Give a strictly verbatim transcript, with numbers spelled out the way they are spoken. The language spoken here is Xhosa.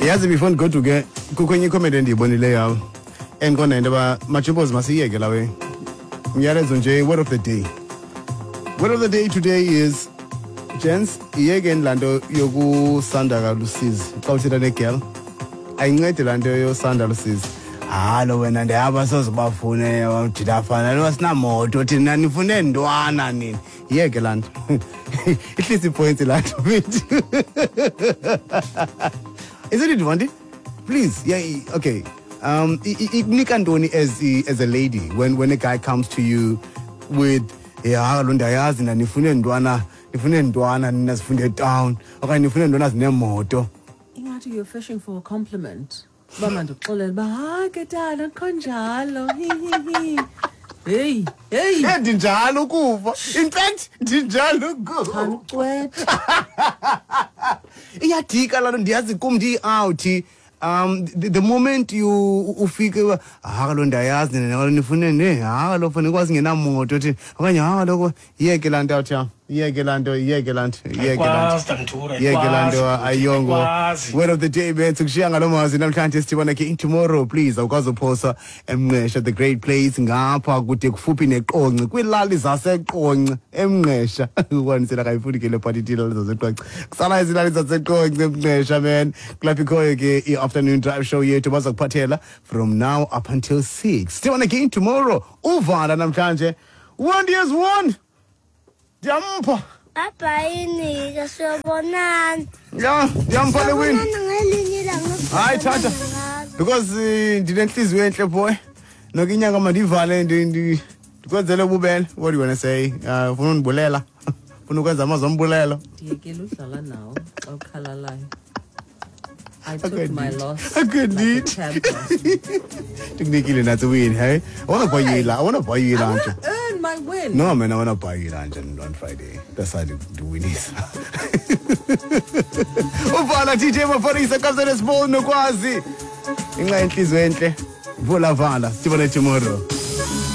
Yazi, before ndigoduke, kukho enye icomedy endiyibonileyo apha endiqonda into yoba, majimbozi, masiyiyeke lawe. Umyalezo nje, word of the day. Word of the day today is, gents, iyekeni laa nto yokusanda kalusizi xa uthetha negirl. Ayincedi laa nto yosanda lusizi. Halo wena, ndiyaba soze bafune jidafana lo, sinamoto thina, nifune ntwana nini? Iyeke laa nto, ihlisa ipoints laa nto mfethu. Isn't it, Vandi? Please, yeah, okay. Um, ikunika ntoni as as a lady when when a guy comes to you with, "Yeah, lo ndiyayazi na nifune ntwana, nifune ntwana nina sifunde town, okanye nifune ntwana zinemoto"? Ingathi you're fishing for a compliment. Uba mandikuxelele uba hayi ke tata, kho njalo, hi hi hi, heyi heyi. Eh, ndinjalo ukuva. In fact, ndinjalo ukuva. Khanucwetha. Iyadika laa nto, ndiyazi kum ndiyi-out. um the, the moment you ufike, "Ha kaloku ndiyayazi nina, kaloku nifune ne, ha kaloku funa ikwazi ngenamoto thi," okanye "Ha kaloku," iyeke laa nto awuthi yam, iyeke laa nto, iyeke laa nto, iyeke laa nto. Ayikwazi, Tantura. Iyeke laa nto, ayongo. Ayikwazi. Word of the day, bethu, kushiya ngalo mazwi namhlanje. Sithibona ke tomorrow. Please, awukwazi uphosa eMngqesha, the great place ngapha kude kufuphi neQonce, kwiilali zaseQonce eMngqesha. Ukwanisela kayifuni ke le party, iilali zaseQonce kusala izilali zaseQonce eMngqesha, man. Kulapho ikhoyo ke i-afternoon drive show yethu, baza kuphathela from now up until six. Sithibona again tomorrow. Uvala namhlanje, one years one, ndiyampha. Bye-bye, siyobonana. Ya, ndiyampha le win. Siyobonana ngelinye ilanga. Hayi, thatha, because eh, ndinenhliziyo enhle, boy. Noke inyanga mandivale, ndi- ndi- ndikwenzele ububele. What do you wanna say? uh, ufuna undibulela, ufuna ukwenza amazwi ombulelo? Ndiyekele udlala nawo xa ukhalalayo. I took I my couldn't. loss I couldn't. like a champion. Ndikunikile natsi win. Hey, I wanna buy you I wanna buy you I lunch. wanna earn my win. No man, I wanna buy you lunch on, on Friday. That's how ndiwinisa. Uvala D J Maphorisa kamzene Small Nokwazi, inxa yenhliziyo enhle. Vula vala, sibone tomorrow.